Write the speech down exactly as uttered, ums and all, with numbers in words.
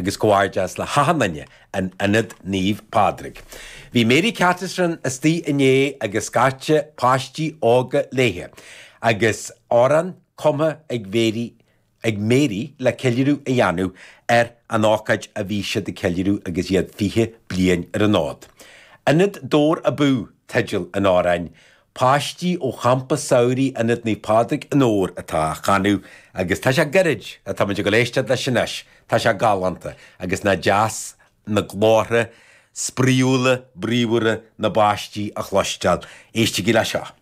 agus comhghairdeas le hachan duine in Ionad Naomh Pádraig. Bhí Mary Catterson istigh inné agus scata páistí óga léithe, agus amhrán cumtha ag Mary ag Mary le ceiliúradh a dhéanamh ar an ócáid a bhí siad ag ceiliúradh agus iad fiche bliain ar an fhód. Ionad Dobhar Abú teideal an amhráin, páistí ó champa samhraidh Ionad Naomh Pádraig in Dobhar atá á chanadh agus tá sé gairid atá muid ag dul éisteacht leis anois, tá sé galánta agus nach deas na glórtha spraíúla bríomhara na bpáistí a chloisteáil. Éistigí le seo.